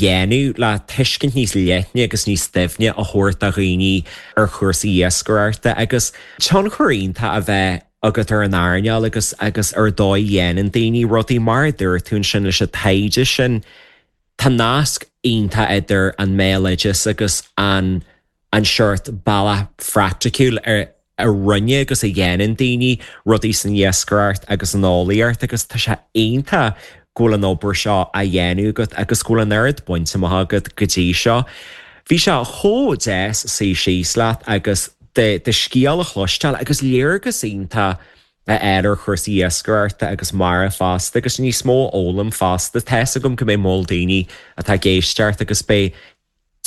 Dhéanamh le tuiscint níos leithne agus níos doimhne a thabhairt do dhaoine ar chúrsaí iascaireachta agus tionchar iontach a bheith agat ar an earnáil agus agus ar dóigh a dhéanann daoine rudaí. Mar a dúirt tú ansin leis an taighde sin, tá nasc iontach idir an mbéaloideas agus an an seort bealach phraiticiúil ar a rinne agus a dhéanann daoine rudaí san iascaireacht agus san eolaíocht agus tá sé iontach go bhfuil an obair seo á dhéanamh agat agus go bhfuil an oiread bainte amach agat go dtí seo. Bhí sé chomh deas suí síos leat agus do scéal a chloisteáil agus léargas iontach a fháil ar chúrsaí iascaireachta agus mara fosta agus níos mó a fhoghlaim fosta. Tá's agam go mbeidh moll daoine atá ag éisteacht agus beidh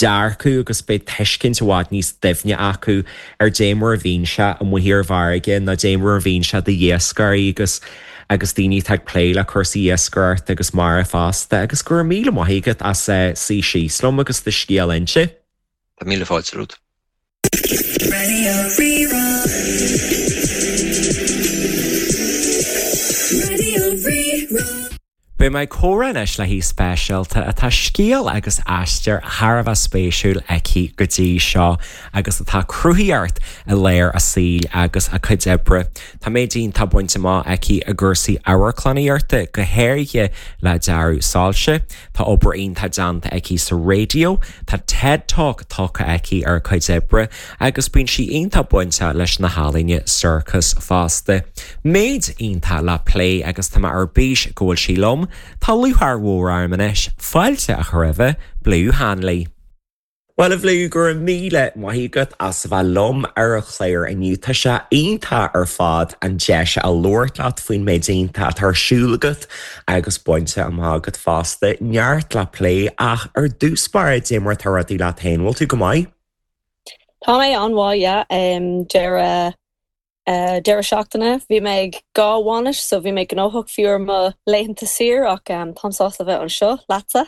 dearcadh agus beidh tuiscint i bhfad níos doimhne acu ar dé mar a bhíonn sé amuigh ar an bhfarraige nó dé mar a bhíonn sé do iascairí agus agus daoine atá ag plé le cúrsaí iascaireachta agus mara fosta agus go raibh míle maith agat as suí síos liom agus do scéal a inse. Tá míle fáilte romhat. Raidió Rí-Rá. Raidió Rí-Rá. Beidh mé ag comhrá anois le haoi speisialta atá scéal agus aistear thar a bheith spéisiúil aici go dtí seo agus atá cruthaíocht i lár a saoil agus a cuid oibre. Tá méid iontach bainte amach aici i gcúrsaí amharclannaíochta, go háirithe le dearadh soilse. Tá obair iontach déanta aici sa raidió, tá TED Talk tugtha aici ar a cuid oibre agus bíonn sí iontach bainteach leis na healaíona sorcais fosta. Méid iontach le plé agus tá mé ar bís go bhfuil sí liom. Tá lúcháir mhór orm anois fáilte a chur roimhe, Blue Hanley. Bhuel, a Bhlue, go raibh míle maith agat as a bheith liom ar an chlár inniu. Tá sé iontach ar fad an deis a labhairt leat faoin méid iontach atá ar siúl agat agus bainte amach agat fosta. Neart le plé ach ar dtús báire, dé mar atá rudaí leat féin, bhfuil tú go maith? Tá mé an-mhaith, yeah. Deireadh deireadh seachtaine bhí mé ag dhá bhainis so bhí mé gnóthach fiú ar mo laethanta saoire ach táim sásta a bheith anseo leatsa.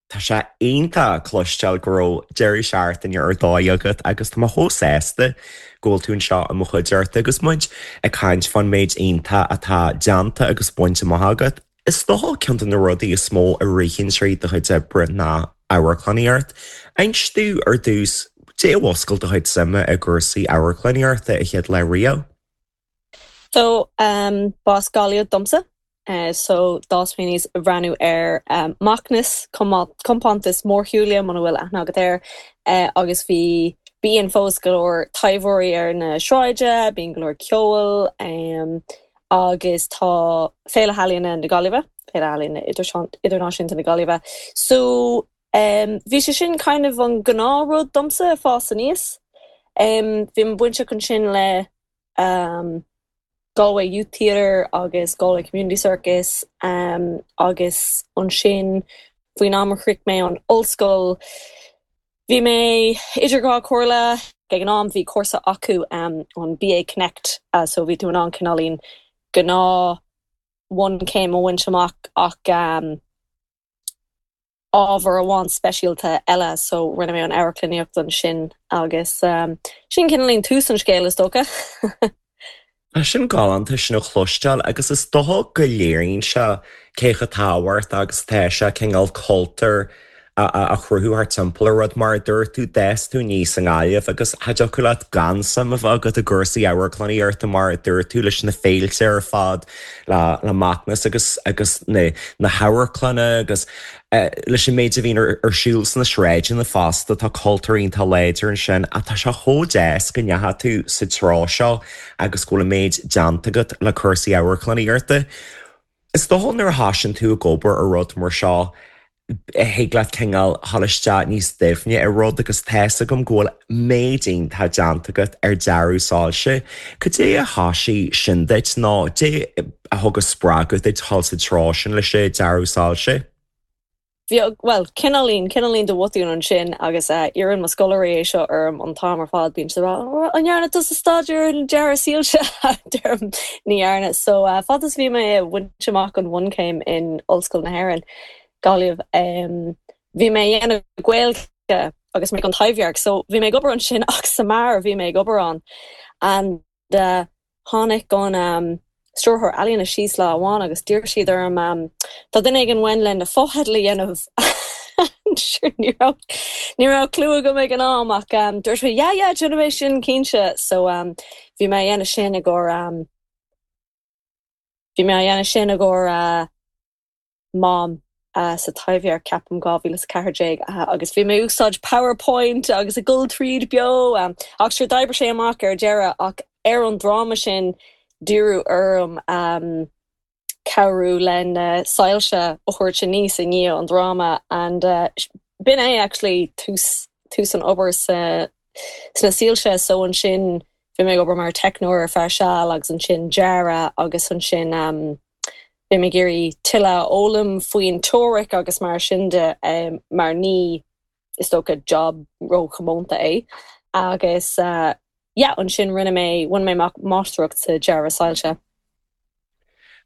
Tá sé iontach cloisteáil go raibh deireadh seachtaine ar dóigh agat agus tá mé chomh sásta go bhfuil tú anseo i mo chuideachta agus muid ag caint fán méid iontach atá déanta agus bainte amach agat. Is dócha ceann de na rudaí is mó a ritheann tríd do chuid oibre ná amharclannaíocht. Inis domh ar dtús, dé a mhúscail do chuid suime i gcúrsaí amharclannaíochta a chéad lá riamh? So, b'as Gaillimh domsa. So, d'fhás mé aníos ag breathnú ar Macnas, compántas mórshiúil muna bhfuil aithne agat air, agus bhí, bíonn fós go leor taibheoirí ar na sráide, bíonn go leor ceoil, agus tá Féile Ealaíona na Gaillimhe, Féile Ealaíona Idirnáisiúnta na Gaillimhe. So, bhí sé sin kind of an gnáthrud domsa ag fás aníos. Bhí mé bainteach ansin le Galway Youth Theatre agus Galway Community Circus agus ansin faoin am a shroich mé an ollscoil bhí mé idir dhá chomhairle. Ag an am bhí cúrsa acu an BA Connect so bhí tú in ann cineáilín gnáth bhunchéim a bhaint amach ach ábhar amháin speisialta eile so rinne mé an amharclannaíocht ansin agus sin cineáilín tús an scéil is dócha. Tá sin galánta sin a chloisteáil agus is dócha go léiríonn sé cé chomh tábhachtach agus atá sé cineál cultúr a chruthú thart timpeall ar rud. Mar a dúirt tú, d'fhás tú aníos i nGaillimh agus cha dtiocfadh leat gan suim a bheith agat i gcúrsaí amharclannaíochta mar a dúirt tú leis na féilte ar fad, le le Macnas agus agus na na hamharclanna agus leis an méid a bhíonn ar ar siúl sna sráideanna fosta, tá cultúr iontach láidir ansin ach tá sé chomh deas go ndeachaigh tú sa treo seo agus go bhfuil an méid déanta agat le cúrsaí amharclannaíochta. Is dócha nuair a thosaíonn tú ag obair ar rud mar seo, thig leat cineál dhul isteach níos doimhne i rud agus tá's agam go bhfuil méid iontach déanta agat ar dearadh soilse. Cad é a thosaigh sin duit nó dé a thug an spreagadh duit dhul sa treo sin leis an dearadh soilse? Bhí, bhuel, cineáilín, cineáilín de bhotún ansin agus iarrann mo scoláirí é seo orm an t-am ar fad, bíonn siad ag rá, an ndearna tusa staidéar ar an dearadh soilse? Deirim, ní dhearna. So, fad is bhí mé ag baint amach an bhunchéim in Ollscoil na hÉireann, Gaillimh. Bhí mé ag déanamh Gaeilge agus mé ag an Taibhdhearc so bhí mé ag obair ansin ach sa mbeár a bhí mé ag obair ann and tháinig an stiúrthóir ealaíona síos lá amháin agus d'iarr siad orm tá duine éigin uainn le na fotheidil a dhéanamh. Sure ní raibh ní raibh clue agam ag an am ach dúirt mé yeah yeah déanfaidh mé sin cinnte so bhí mé a dhéanamh sin i gcomhair bhí mé a dhéanamh sin i gcomhair Mám sa Taibhdhearc ceapaim 2014 agus bhí mé ag úsáid PowerPoint agus ag dul tríd beo ach sure d'oibrigh sé amach ar deireadh ach ar an dráma sin d'iarradh orm cabhrú le na soilse a thabhairt aníos i ndiaidh an dráma and b'in é actually tús tús an obair sa sna soilse so ansin bhí mé ag obair mar teicneoir ar feadh seal agus ansin dearadh agus ansin bhí mé ag iarraidh tuilleadh a fhoghlaim faoin teoiric agus mar sin de mar ní is dócha job róchomónta é agus yeah ansin rinne mé bhain mé amach máistreacht sa dearadh soilse.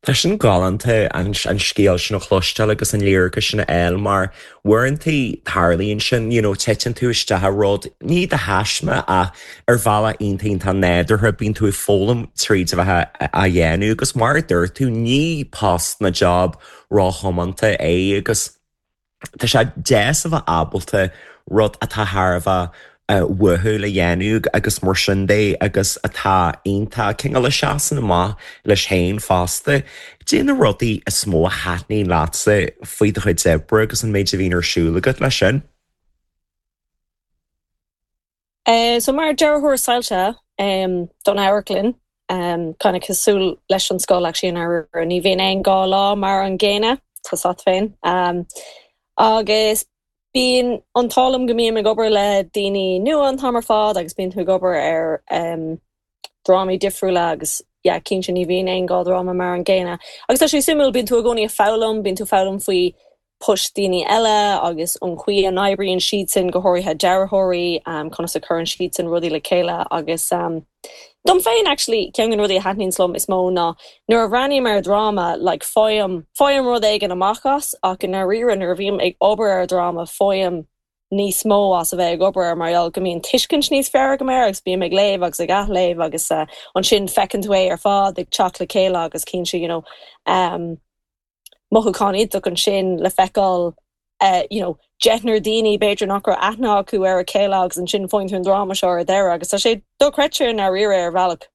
Tá sin galánta an scéal sin a chloisteáil agus an léargas sin a fháil mar uaireanta tarlaíonn sin, you know, titeann tú isteach i rud, ní de thaisme ach ar bhealach iontach iontach nádúrtha, bíonn tú ag foghlaim tríd a bheith á dhéanamh agus mar a dúirt tú, ní post ná job róchomónta é agus tá sé deas a bheith ábalta rud atá thar a bheith uathúil a dhéanamh agus mar sin de agus atá iontach, cineál a seasann amach leis féin fosta. Cad é na rudaí is mó a thaitníonn leatsa faoi do chuid oibre agus an méid a bhíonn ar siúl agat leis sin? So mar dearthóir soilse don amharclann, kind of cosúil leis an scoil actually i ndáiríre, ní bhíonn aon dá lá mar an gcéanna, tá 's a't féin. Agus bíonn an t-ádh liom go mbím ag obair le daoine nua an t-am ar fad agus bíonn tú ag obair ar drámaí difriúla agus yeah cinnte ní bhíonn aon dá dhráma mar an gcéanna. Agus tá sé suimiúil, bíonn tú i gcónaí ag foghlaim, bíonn tú ag foghlaim faoi poist daoine eile agus an chaoi a n-oibríonn siadsan, go háirithe dearthóirí, conas a chuireann siadsan rudaí le chéile agus dom féin actually ceann de na rudaí a thaitníonns liom is mó ná nuair a bhreathnaím ar dhráma like faighim, faighim rud éigin amach as ach i ndáiríre nuair a bhím ag obair ar dhráma faighim níos mó as a bheith ag obair air mar gheall go mbíonn tuiscint níos fearr agam air agus bím ag léamh agus ag athléamh agus ansin feiceann tú é ar fad ag teacht le chéile agus cinnte you know mothúchán iontach ansin le feiceáil you know deichniúr daoine b'fhéidir nach raibh aithne acu ar a chéile agus ansin faigheann tú an dráma seo ar deireadh agus tá sé dochreidte i ndáiríre ar bhealach.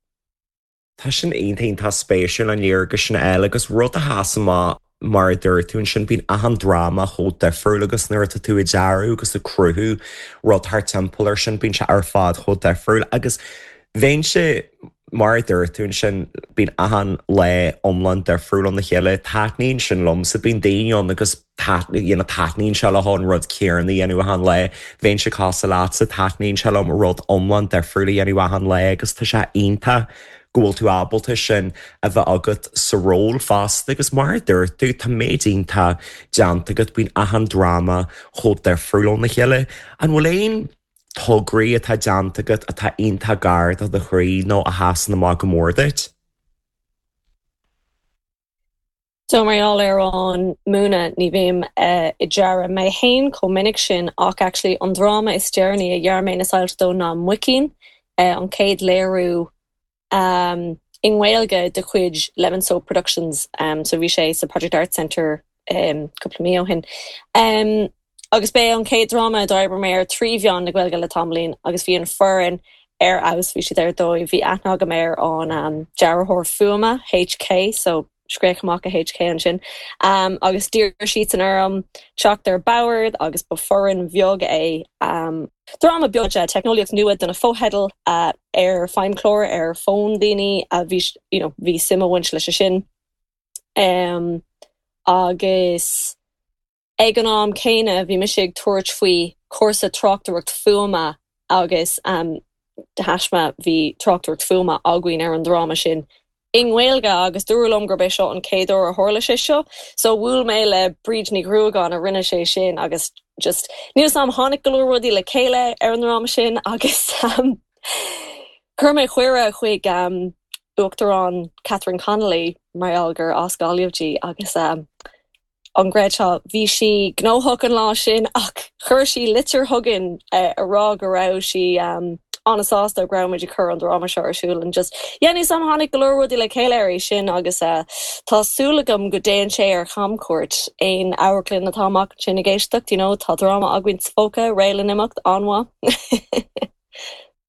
Tá sin iontach iontach spéisiúil an léargas sin a fháil agus rud a sheas amach mar a dúirt tú ansin bíonn achan dráma chomh difriúil agus nuair atá tú ag dearadh agus ag cruthú rud thart timpeall air sin bíonn sé ar fad chomh difriúil agus bheinnse mar a dúirt tú ansin bíonn achan lá iomlán difriúil óna chéile taitníonn sin liomsa bíonn daoine ann agus you know taitníonn sé leo an rud céanna a dhéanamh achan lá. Bheinnse cosúil leatsa, taitníonn sé liom rud iomlán difriúil a dhéanamh achan lá agus tá sé iontach go bhfuil tú ábalta sin a bheith agat sa ról fosta agus mar a dúirt tú, tá méid iontach déanta agat, bíonn achan dráma chomh difriúil óna chéile. An bhfuil aon tograí atá déanta agat atá iontach gar do do chroí nó a sheasann amach go mór duit? So mar gheall ar an múineadh ní bhím ag dearadh mé fhéin chomh minic sin ach actually an dráma is deireanaí a dhear mé na soilse dó ná Muicín, an chéad léiriú i nGaeilge de chuid Lemon Soap Productions so bhí sé sa Project Arts Centre cúpla mí ó shin. Agus b'é an chéad dráma a d'oibrigh mé air trí mheán na Gaeilge le tamaillín agus bhí an foireann ar fheabhas, bhí siad ar dóigh. Bhí aithne agam ar an dearthóir fuaime, HK, so scréach amach a HK ansin, agus d'iarr siadsan orm teacht ar bord agus ba foireann bheag é. Dráma beag, teicneolaíocht nua do na fotheidil ar feidhmchláir ar fón daoine a bhí, you know, bhí suim ag baint leis sin. Agus. Ag an am céanna, bhí mise ag tabhairt faoi chúrsa tráchtaireacht fuaime agus de thaisme bhí tráchtaireacht fuaime againn ar an dráma sin i nGaeilge agus dúradh liom gurb é seo an chéad uair a tharla sé seo. So bhuail mé le Bríd Ní Ghruagáin a rinne sé sin agus just níl 's a'm, tháinig go leor rudaí le chéile ar an ndráma sin agus chuir mé cuireadh chuig Uachtarán Catherine Connolly mar gheall gur as Gaillimh di agus An gcreidfeá, bhí sí gnóthach an lá sin ach Chuir sí litir chugainn a rá go raibh sí an-sásta go raibh muid ag cur an dráma seo ar siúl and just yeah níl 's a'm tháinig go leor rudaí le chéile ar é sin agus tá súil agam go dtéann sé ar chamchuairt aon amharclann atá amach ansin ag éisteacht you know tá dráma againn sa phóca réidh le n-imeacht an-mhaith.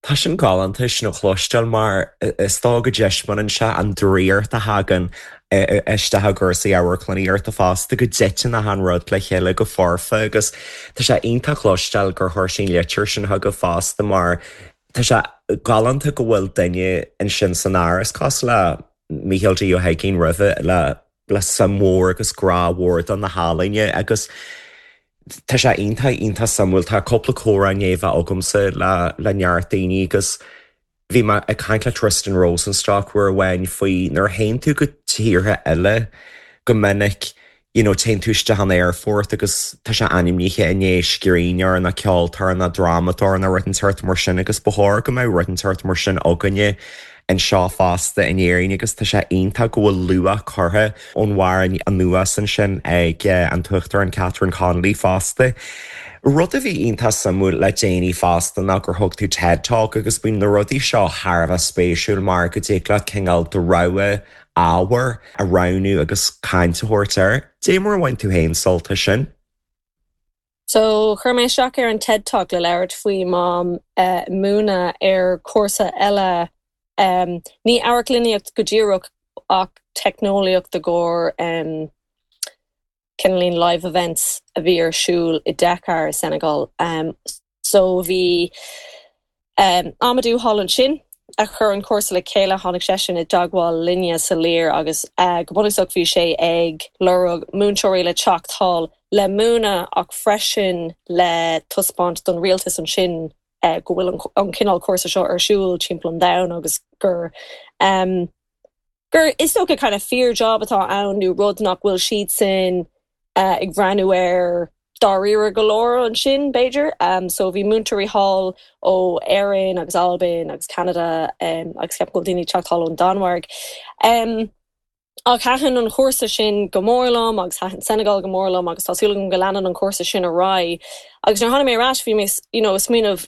Tá sin galánta sin a chloisteáil mar is dóigh go dtaispeánann sé an draíocht a thagann isteach i gcúrsaí amharclannaíochta fosta, go dtiteann achan rud le chéile go foirfe agus tá sé iontach cloisteáil gur chuir sí an litir sin chugaibh fosta mar tá sé galánta go bhfuil duine ansin san Áras cosúil le Mícheál D Ó hUiginn roimhe le le suim mhór agus grá mhór do na healaíona agus tá sé iontach, iontach suimiúil. Tá cúpla comhrá i ndiaidh a bheith agamsa le le neart daoine agus bhí mé ag caint le Tristan Rosenstock uair amháin faoi nuair a théann tú go tíortha eile go minic you know téann tú isteach in aerfort agus tá sé ainmnithe i ndiaidh scríbhneoir nó ceoltóir nó drámadóir nó rud inteacht mar sin agus ba chóir go mbeadh rud inteacht mar sin againne anseo fosta in Éirinn agus tá sé iontach go bhfuil luach curtha ón bharr anuas ansin ag an tUachtarán Catherine Connolly fosta. Rud a bhí iontach suimiúil le déanaí fosta ná gur thug tú TED Talk agus bíonn na rudaí seo thar a bheith spéisiúil mar go dtig leat cineál do rogha ábhair a roghnú agus caint a thabhairt air. Dé mar a bhain tú féin sult as sin? So, chuir mé isteach ar an TED Talk le labhairt faoi mo mhúineadh ar chúrsa eile, ní amharclannaíocht go díreach ach teicneolaíocht i gcomhair cineáilín live events a bhí ar siúl i Dakar i Senegal. So bhí Amadou thall ansin a chuir an cúrsa le chéile, tháinig seisean i dteagmháil linne sa Lir agus go bunúsach bhí sé ag lorg múinteoirí le teacht thall le múineadh ach freisin le taispeáint don rialtas ansin go bhfuil an cineál cúrsa seo ar siúl timpeall an domhain agus gur gur is dócha kind of fíor job atá ann nó rud nach bhfuil siadsan ag breathnú air dáiríre go leor ansin b'fhéidir. So bhí múinteoirí thall ó Éirinn agus Albain agus Ceanada agus ceapaim go bhfuil daoine ag teacht thall ón Danmhairg. Ach thaitin an chúrsa sin go mór liom agus thaitin Senegal go mór liom agus tá súil agam go leanann an cúrsa sin ar aghaidh. Agus nuair a tháinig mé ar ais bhí mé you know ag smaoineamh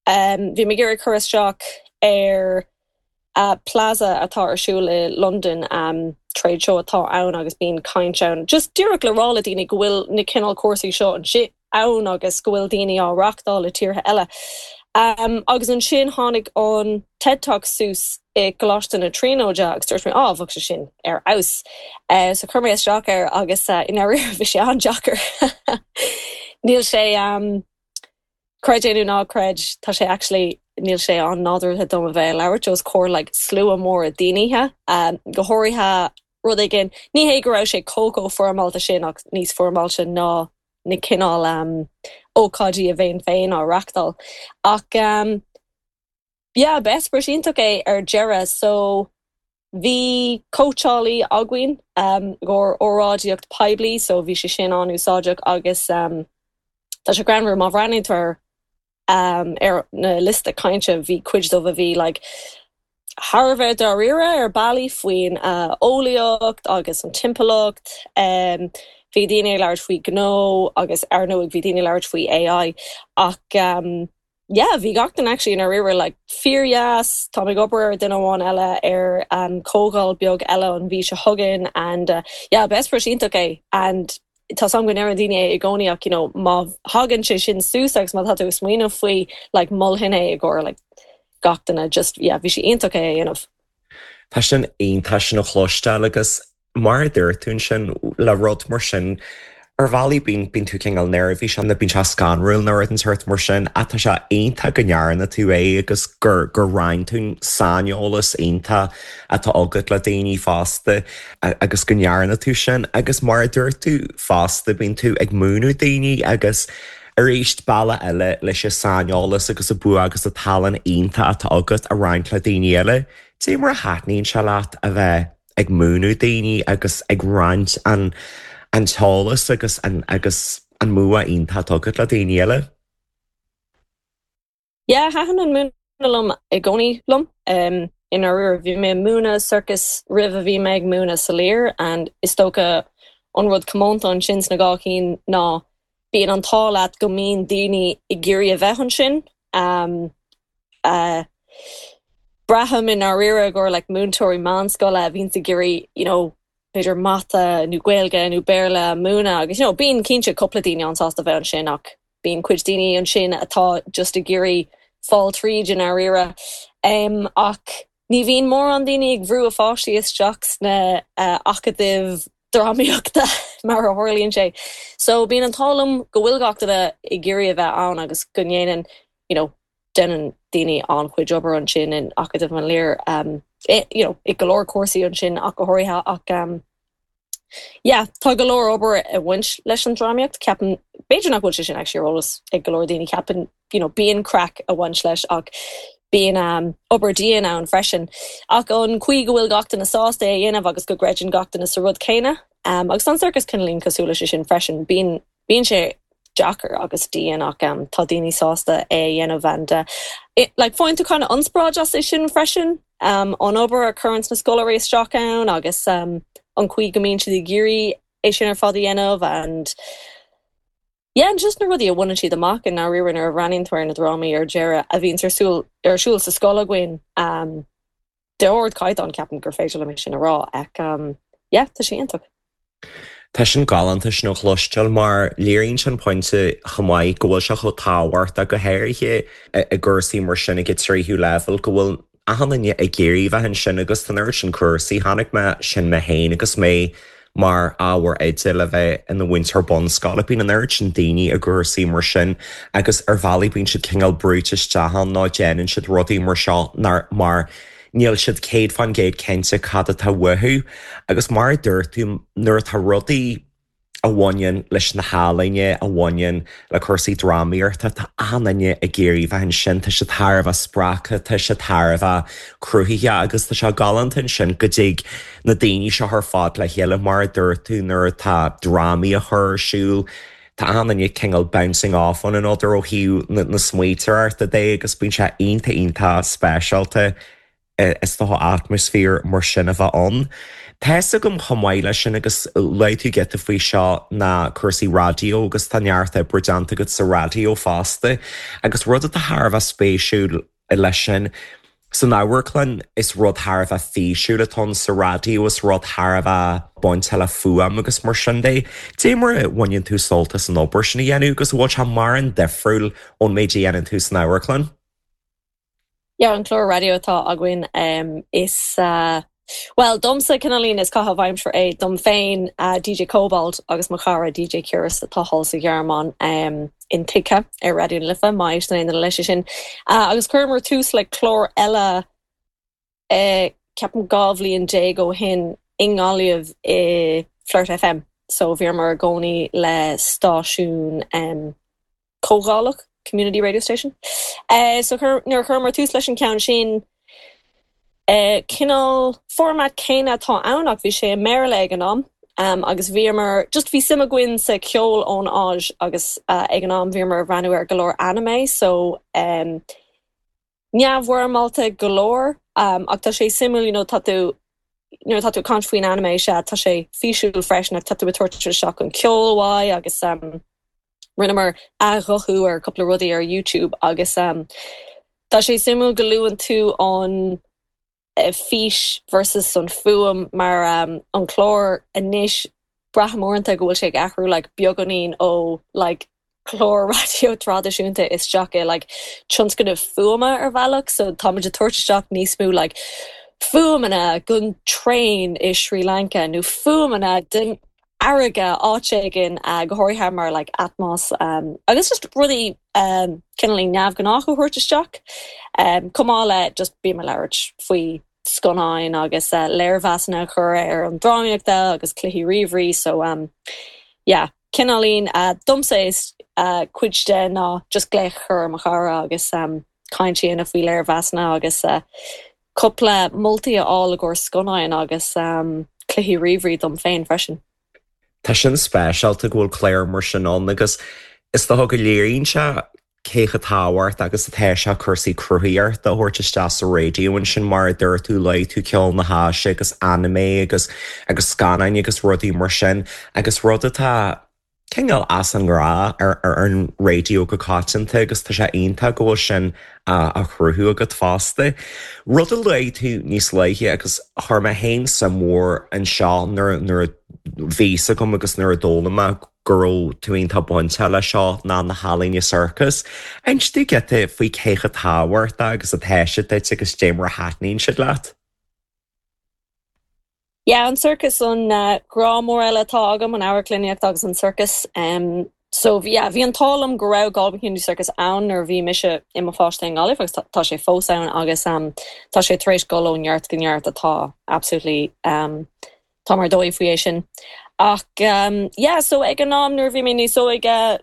Bhí mé ag iarraidh cur isteach ar Plaza atá ar siúl i Londain, trade show atá ann agus bíonn caint ann. Just díreach le rá le daoine go bhfuil na cineál cúrsaí seo ann agus go bhfuil daoine á reachtáil i tíortha eile. Agus ansin tháinig an TED Talk suas i gColáiste na Tríonóide agus dúirt mé, á, bheadh sé sin ar fheabhas. So chuir mé isteach air agus i ndáiríre bhí sé an-deacair. Níl sé. Creid é nó ná creid, tá sé actually, níl sé an-nádúrtha dom a bheith ag labhairt os comhair like slua mór daoine, go háirithe rud éigin, ní hé go raibh sé chomh chomh foirmeálta sin ach níos foirmeáilte ná na cineál ócáidí a bheinn féin á reachtáil. Ach yeah, b'eispéireas iontach é ar deireadh. So bhí cóitseálaí againn i gcomhair óráidíocht poiblí so bhí sé sin an-úsáideach agus tá sé greannmhar má bhreathnaíonn tú ar ar na liosta cainte bhí cuid dóibh a bhí like thar a bheith dáiríre ar bealaí faoin eolaíocht agus an timpeallacht. Bhí daoine ag labhairt faoi gnó agus ar ndóigh bhí daoine ag labhairt faoi AI ach yeah bhí gach duine actually i ndáiríre like fíordheas, táim ag obair ar duine amháin eile ar um comhdháil beag eile an mhí seo chugainn and uh yeah b'eispéireas iontach é and tá 's agam go ndeireann daoine é i gcónaí ach you know má thagann sé sin suas agus má tá tú ag smaoineamh faoi like mholfainn é i gcomhair like gach duine just yeah bhí sé iontach é a dhéanamh. Tá sin iontach sin a chloisteáil agus Mar a dúirt tú ansin, le rud mar sin, ar bhealaí bíonn, bíonn tú cineál neirbhíseach nó bíonn sé scanrúil nó rud den tsórt mar sin ach tá sé iontach go ndearna tú é agus gur, gur roinn tú an saineolas iontach atá agat le daoine fosta agus go ndearna tú sin agus mar a dúirt tú fosta bíonn tú ag múineadh daoine agus arís bealach eile leis an saineolas agus an bua agus an tallann iontach atá agat a roinnt le daoine eile. Dé mar a thaitníonn sé leat a bheith ag múineadh daoine agus ag roinnt an an t-eolas agus an agus an mbua iontach atá agat le daoine eile. Yeah, thaitin an múineadh liom i gcónaí liom. I ndáiríre, bhí mé ag múineadh sorcas roimh a bhí mé ag múineadh sa Lir and is dócha an rud comónta ansin sna dhá chinn ná. Bíonn an t-ádh leat go mbíonn daoine ag iarraidh a bheith ansin. Braithim i ndáiríre gur like múinteoirí meánscoile a bhíonns ag iarraidh you know b'fhéidir mata nó Gaeilge nó Béarla a mhúineadh agus you know bíonn cinnte cúpla daoine an-sásta bheith ansin ach bíonn cuid daoine ansin atá just ag iarraidh fáil tríd i ndáiríre. Ach ní bhíonn mórán daoine ag brú a pháistí isteach sna acadaimh drámaíochta mar a tharlaíonn sé. So bíonn an t-ádh liom go bhfuil gach duine ag iarraidh a bheith ann agus go ndéanann you know déanann daoine an-chuid obair ansin in Acadamh an Lir you know i go leor cúrsaí ansin ach go háirithe ach yeah tá go leor obair ag baint leis an drámaíocht ceapaim b'fhéidir nach bhfuil sé sin actually ar eolas ag go leor daoine ceapaim you know bíonn craic ag baint leis ach bíonn um, obair dian ann freisin ach an chaoi go bhfuil gach duine sásta é a dhéanamh agus go gcreideann gach duine sa rud céanna um, agus an circus cineáilín cosúil leis sin freisin bíonn Bíonn sé deacair agus dian ach tá daoine sásta é a dhéanamh and like faigheann tú kind of ionspráid as é sin freisin, an obair a chuireann na scoláirí isteach ann agus an chaoi go mbíonn siad ag iarraidh é sin ar fad a dhéanamh and yeah and just na rudaí a bhaineann siad amach i ndáiríre nuair a bhreathnaíonn tú ar na drámaí ar deireadh a bhíonns ar siúl ar siúl sa scoil againn. D'ardchaighdeán, ceapaim gur féidir liom é sin a rá ach yeah, tá sé iontach. Tá sin galánta sin a chloisteáil mar léiríonn sé an pointe chomh maith go bhfuil sé chomh tábhachtach, go háirithe i gcúrsaí mar sin ag an tríú leibhéal, go bhfuil achan duine ag iarraidh bheith ansin agus tá an oiread sin cúrsaí. Chonaic mé sin mé féin agus mé mar ábhar oide le bheith ina mhúinteoir bunscoile. Bíonn an oiread sin daoine i gcúrsaí mar sin agus ar bhealaí bíonn siad cineál brúite isteach ann nó déanann siad rudaí mar seo mar níl siad 100% cinnte cad atá uathu. Agus mar a dúirt tú, nuair atá rudaí a bhaineann leis na healaíona, a bhaineann le cúrsaí drámaíochta, tá achan duine ag iarraidh bheith ansin, tá siad thar a bheith spreagtha, tá siad thar a bheith cruthaitheach agus tá sé galánta ansin go dtig na daoine seo ar fad le chéile, mar a dúirt tú, nuair atá drámaí á chur ar siúl, tá achan duine cineál bouncing off one another ó thaobh na smaointeoireachta de agus bíonn sé iontach iontach speisialta is dócha atmaisféar mar sin a bheith ann. Tá's agam chomh maith leis sin agus luaigh tú giota faoi seo ná cúrsaí raidió agus tá neart oibre déanta agat sa raidió fosta agus rud atá thar a bheith spéisiúil leis sin san amharclann is rud thar a bheith físiúil atá ann sa raidió is rud thar a bheith bainte le fuaim agus mar sin de. Dé mar a bhaineann tú sult as an obair sin a dhéanamh agus an bhfuil sé mórán difriúil ón méid a dhéanann tú san amharclann? Yeah, an clár raidió atá againn is bhuel domsa cineáilín is caitheamh aimsire é dom féin, DJ Cobalt agus mo chara DJ Curious atá thall sa Ghearmáin intuigthe ar Raidió na Life má éisteann aon duine leis sin. Agus chuireamar tús le clár eile ceapaim 12 bhliain ó shin i nGaillimh i Flirt FM so bhíomar i gcónaí le stáisiún comhdhálach, community radio station. So nuair a chuireamar tús leis an ceann sin, cineál format céanna atá ann ach bhí sé i mBéarla ag an am agus bhíomar, just bhí suim againn sa cheol ón Áis agus ag an am bhíomar ag breathnú ar go leor anime so neamhfhoirmeálta go leor ach tá sé suimiúil you know tá tú nuair atá tú ag caint faoin anime sea tá sé físiúil freisin ach tá tú ag tabhairt isteach an ceol uaidh agus rinneamar athghuthú ar cúpla rudaí ar YouTube agus tá sé suimiúil go luann tú an fís versus an fuaim mar an clár anois braithim uaireanta go bhfuil sé ag athrú like beagáinín ó like clár raidió traidisiúnta isteach i like tionscnamh fuaime ar bhealach so táimid ag tabhairt isteach níos mó like fuaimeanna den traein i Sri Lanka nó fuaimeanna den fharraige áit éigin go háirithe mar like Atmos agus just rudaí cineáilín neamhghnách a thabhairt isteach chomh maith le just bím ag labhairt faoi scannáin agus léirmheasanna a chur ar an drámaíochta agus cluichí ríomhairí so yeah cineáilín domsa is cuid de ná just glaoch a chur ar mo chara agus caint a dhéanamh faoi léirmheasanna agus cúpla moltaí a fháil i gcomhair scannáin agus cluichí ríomhairí dom féin freisin. Tá sin speisialta go bhfuil clár mar sin ann agus is dócha go léiríonn sé cé chomh tábhachtach agus atá sé cúrsaí cruthaitheachta a thabhairt isteach sa raidió ansin mar a dúirt tú luaigh tú ceol na hÁise agus anime agus agus scannáin agus rudaí mar sin agus rud atá. cineál as an ngnáth ar an raidió go coitianta agus tá sé iontach go bhfuil sin á chruthú agat fosta. Rud a luaigh tú níos luaithe agus chuir mé féin suim mhór anseo nuair nuair a bhí fhios agam agus nuair a d'fhoghlaim mé go raibh tú iontach bainteach leis seo ná na healaíona sorcas. Inis domh giota faoi cé chomh tábhachtach agus atá siad duit agus dé mar a thaitníonn siad leat. Yeah, an sorcas an grá mór eile atá agam, an amharclannaíocht agus an sorcas. So yeah, bhí an t-ádh liom go raibh Galway Community Circus ann nuair a bhí mise i mo pháiste i nGaillimh agus tá sé fós ann agus tá sé tar éis dul ó neart go neart atá absolutely táim ar dóigh faoi é sin. Ach yeah, so ag an am nuair a bhí mé níos óige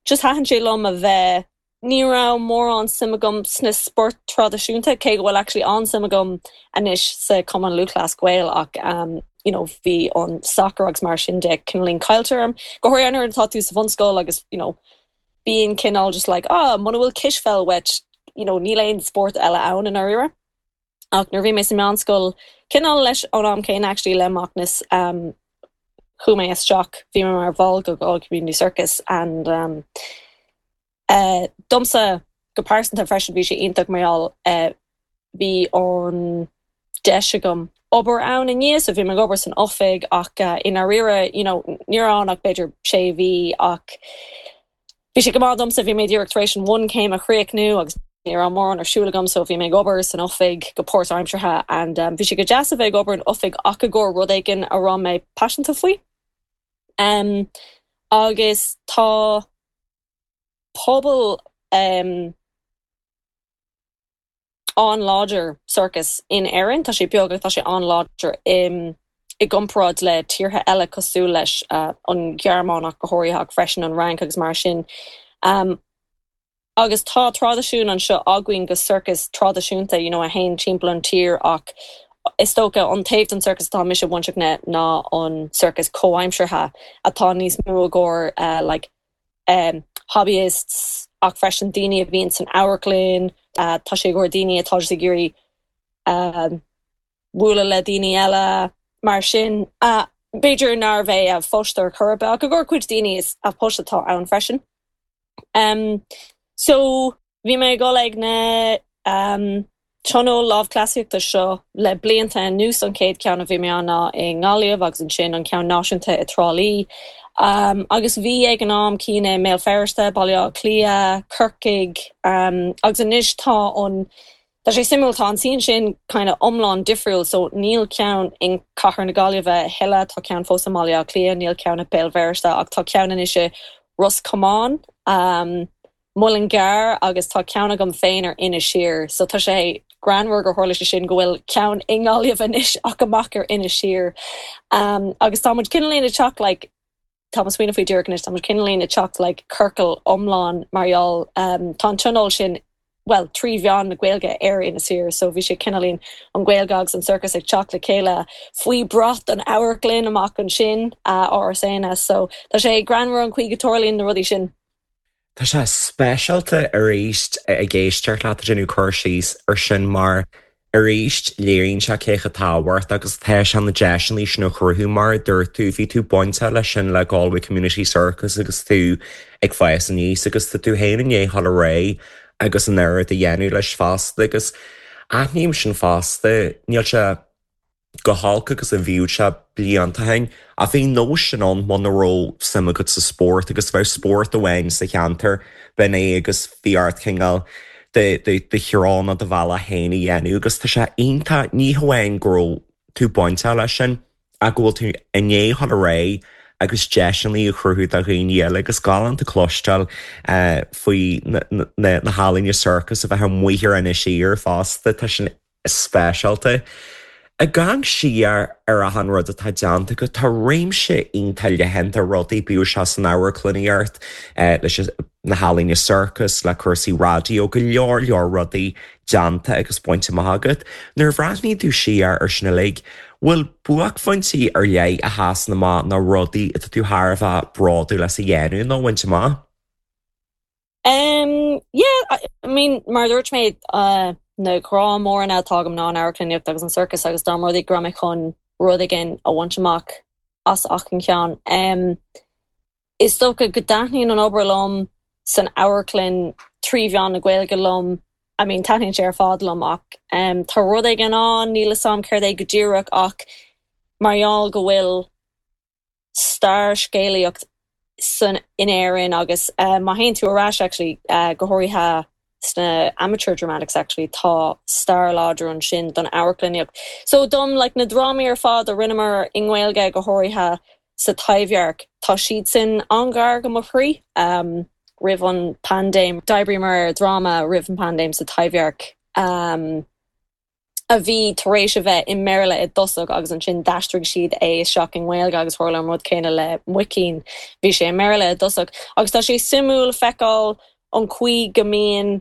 just thaitin sé liom a bheith Ní raibh mórán suim agam sna spóirt traidisiúnta, cé go bhfuil actually an-suim agam anois sa Cumann Lúthchleas Gael ach you know bhí an sacar agus mar sin de cineáilín caillte orm, go háirithe nuair atá tú sa bhunscoil agus you know bíonn cineál just like ah muna bhfuil cispheil uait you know níl aon spórt eile ann i ndáiríre. Ach nuair a bhí mé sa meánscoil, cineál leis an am céanna actually le Macnas, um chuaigh mé isteach, bhí mé mar bhall de Galway Community Circus and um eh domsa go pearsanta freisin bhí sé iontach mar gheall eh bhí an deis agam obair ann i ndiaidh so bhí mé ag obair san oifig ach eh i ndáiríre you know ní raibh ann ach b'fhéidir sé mhí ach Bhí sé go maith domsa, bhí mé díreach tar éis an bhunchéim a chríochnú agus ní raibh mórán ar siúl agam so bhí mé ag obair san oifig go páirtaimseartha and bhí sé go deas a bheith ag obair in oifig ach i gcomhair rud éigin a raibh mé paiseanta faoi. Um agus tá pobal um an-láidir sorcas in Éirinn. Tá sé beag ach tá sé an-láidir i gcomparáid le tíortha eile cosúil leis an Ghearmáin ach go háirithe ach freisin an Fhrainc agus mar sin. Agus tá traidisiún anseo againn de sorcas traidisiúnta you know a théann timpeall an tír ach is dócha an taobh den sorcas atá mise bainteach le ná an sorcas comhaimseartha atá níos mó i gcomhair like hobbyists ach freisin daoine a bhíonn san amharclann, tá sé i gcomhair daoine atá just ag iarraidh bualadh le daoine eile mar sin. B'fhéidir nárbh é a phost ar chor ar bith ach i gcomhair cuid daoine is a post atá ann freisin. So bhí mé ag dul ag na tionól lámhchleasaíochta seo le blianta anuas, an chéad cheann a bhí mé ann ná i nGaillimh agus ansin an ceann náisiúnta i dTrá Lí. Agus bhí ag an am cinn i mBéal Feirste, Baile Átha Cliath, Corcaigh agus anois tá an, tá sé suimiúil, tá an scene sin kind of iomlán difriúil so níl ceann in cathair na Gaillimhe a thuilleadh, tá ceann fós i mBaile Átha Cliath, níl ceann i Béal Feirste ach tá ceann anois i Ros Comáin. Muileann gCearr agus tá ceann agam féin ar Inis Oírr so tá sé greannmhar gur tharla sé sin go bhfuil ceann i nGaillimh anois ach amach ar Inis Oírr. Agus tá muid cineáilín ag teacht like tá mé ag smaoineamh faoi díreach anois tá muid cineáilín ag teacht like ciorcal iomlán mar gheall tá an tionól sin bhuel trí mheán na Gaeilge ar Inis Oírr so bhí sé cineáilín an Ghaeilge agus an sorcas ag teacht le chéile faoi bhrat an amharclann amach ansin Áras Éanna so tá sé greannmhar an chaoi go dtarlaíonn na rudaí sin. Tá sé speisialta arís ag éisteacht leat ag déanamh cur síos ar sin mar arís léiríonn sé cé chomh tábhachtach agus atá sé na deiseanna sin a chruthú mar a dúirt tú, bhí tú bainteach leis sin le Galway Community Circus agus tú ag fás aníos agus tá tú féin i ndiaidh dul ar aghaidh agus an oiread a dhéanamh leis fosta agus aithním sin fosta, níl sé. chomh holc agus a bhíodh sé blianta ó shin, ach bhí an nós sin ann muna raibh suim agat sa spórt agus bheadh spórt amháin sa cheantar, b'in é agus bhí ort cineál do threo nó do bhealach féin a dhéanamh agus tá sé iontach, ní hamháin go raibh tú bainteach leis sin ach go bhfuil tú i ndiaidh dhul ar aghaidh agus deiseanna a chruthú do dhaoine eile agus galánta cloisteáil faoi na healaíona sorcais a bheith amuigh ar Inis Oírr fosta, tá sin speisialta. Ag amharc siar ar achan rud atá déanta agat, tá réimse iontach leathan de rudaí, bíodh sé san amharclannaíocht, leis na healaíona sorcais, le cúrsaí raidió, go leor leor rudaí déanta agus bainte amach agat. Nuair a bhreathnaíonn tú siar ar sin uilig, bhfuil buaicphointí ar leith a sheasann amach nó rudaí atá tú thar a bheith bródúil as a dhéanamh nó a bhaint amach? Um yeah, I mean mar a dúirt mé na grá móranna atá agam ná an amharclannaíocht agus an sorcas agus dá mba rud é go raibh mé chun rud éigin a bhaint amach as achan cheann. Um. Is dócha go dtaitníonn an obair liom san amharclann trí mheán na Gaeilge liom. I mean, taitníonn sé ar fad liom ach tá rud éigin ann, níl 'fhios a'm céard é go díreach ach mar gheall go bhfuil stair scéalaíocht san in Éirinn agus má théann tú ar ais actually go háirithe sna amateur dramatics actually tá stair láidir ansin don amharclannaíocht. So dom like na drámaí ar fad a rinneamar i nGaeilge go háirithe sa Taibhdhearc tá siadsan an-ghar go mo chroí. Um roimh an paindéim d'oibríomar ar dhráma roimh an paindéim sa Taibhdhearc um a bhí tar éis a bheith i mBéarla i dtosach agus ansin d'aistrigh siad é isteach i nGaeilge agus tharla an rud céanna le Muicín, bhí sé i mBéarla i dtosach. Agus tá sé suimiúil feiceáil an chaoi go mbíonn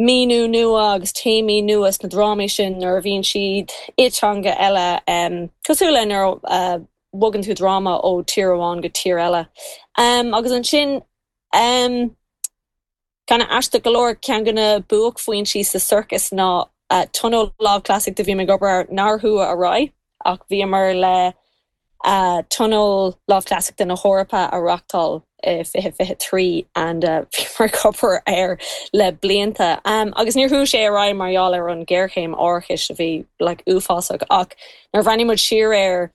míniú nua agus téamaí nua sna drámaí sin nuair a bhíonn siad i dteanga eile, cosúil le nuair a bhogann tú dráma ó tír amháin go tír eile. Agus ansin. Kind of aisteach go leor, ceann de na buaicphointí sa sorcas ná Tionól Lámhchleasaíochta a bhí mé ag obair air nár chuaigh ar aghaidh ach bhíomar le Tionól Lámhchleasaíochta na hEorpa a reáchtáil i 2023 and bhíomar ag obair air le blianta agus níor chuaigh sé ar aghaidh mar gheall ar an ghéarchéim árachais a bhí like uafásach ach nuair a bhreathnaigh muid siar air.